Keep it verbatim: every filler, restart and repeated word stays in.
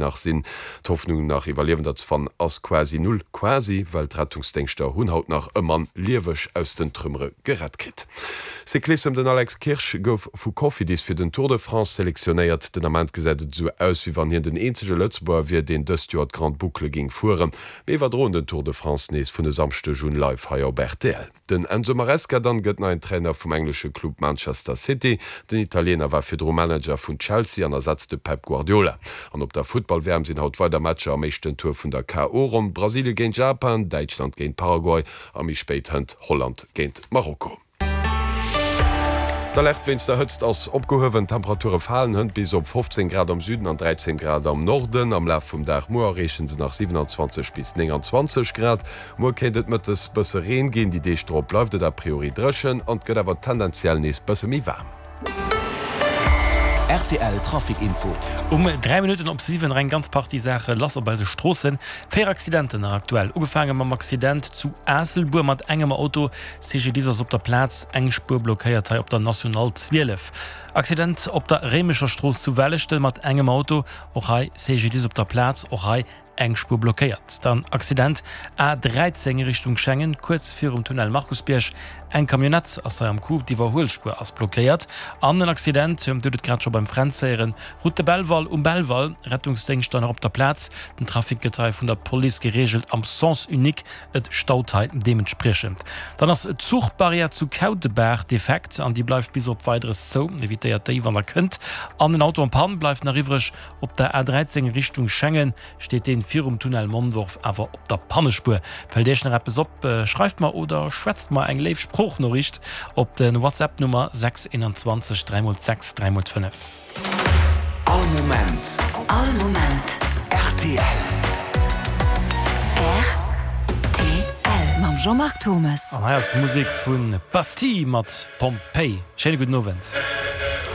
Nach sinn. D'Hoffnung nach Iwwerliewender ze fannen ass quasi null. Quasi, well d'Rettungsdéngschter hunn haut nach e Mann lieweg aus den Trümmere gerett kritt. Cyclissem, Den Alex Kirsch gouf vu Cofidis fir den Tour de France selektionéiert. Den Ament gesäit et esou aus, wéi wann hien den eenzege Lëtzebuerger wier, deen dëst Joer d'Grande Boucle géing fueren. Mir iwwerdroen den Tour de France nees vun e Samschdeg un live hei op rtl. Den Enzo Maresca dann gëtt neien Trainer vum englesche Club Manchester City. Den Italiener war virdru Manager vun Chelsea an ersetzt de Pep Guardiola. An op der Futtball-W M sinn haut weider Matcher am éischten Tour vun der K O. Ronn, Brasilie géint Japan, Däitschland géint Paraguay a méi spéit hënt Holland géint Marokko. D'Alerte wéinst der Hëtzt ass opgehuewen. D'Temperature falen hënt bis op fofzéng Grad am Süden an dräizéng Grad am Norden. Am Laf vum Dag muer erreeche se nach siwenanzwanzeg bis nénganzwanzeg Grad. Muer kéint et mëttes bësse Reen ginn, déi Deeg drop bleift et a priori dréchen an et gëtt awer tendenziell nees bësse méi waarm. R T L Trafic Info. Um dräi Minutten op siwen nach eng ganz Partie Saache lass op eise Stroossen. Véier Accidenten nach aktuell. Ugefaange mam Accident zu Aasselbuer mat engem Auto. C G D I S ass op der Plaz, eng Spuer blockéiert hei op der National zwielef. Accident op der Réimecher Strooss zu Welleschten mat engem Auto. Och hei C G D I S op der Plaz, och hei eng Spuer blockéiert. Dann Accident A dräizéng Richtung Schengen, kuerz virum Tunnel Markusbierg. Eng Camionnette ass hei am Coup, d'Iwwerhuelspuer ass blockéiert. An en Accident, Dir hutt et grad scho beim Fränz héieren, Route de Belval um Belval, Rettungsdéngschter nach op der Plaz. Den Trafic gëtt hei vun der Police gereegelt am Sens unique, et staut hei deementspriechend. Dann ass d'Zuchbarrière zu Kautebaach defekt an déi bleift bis op Weideres zou, evitéiert déi wann der kënnt. An en Auto en panne bleift nach iwwreg op der A dräizéng Richtung Schengen, steet deen virum Tunnel Mondorf awer op der Pannespuer. Fält Iech nach eppes op, schreift mer oder schwätzt mer eng léif Sproochnoriicht op de WhatsApp Nummer sechs einundzwanzeg dräi mol sechs dräi mol fënnef. All Moment. All Moment. R T L. R T L mam Jean-Marc Thomas. An hei ass Musek vu Bastille mat Pompeii. Schéine gudden Owend.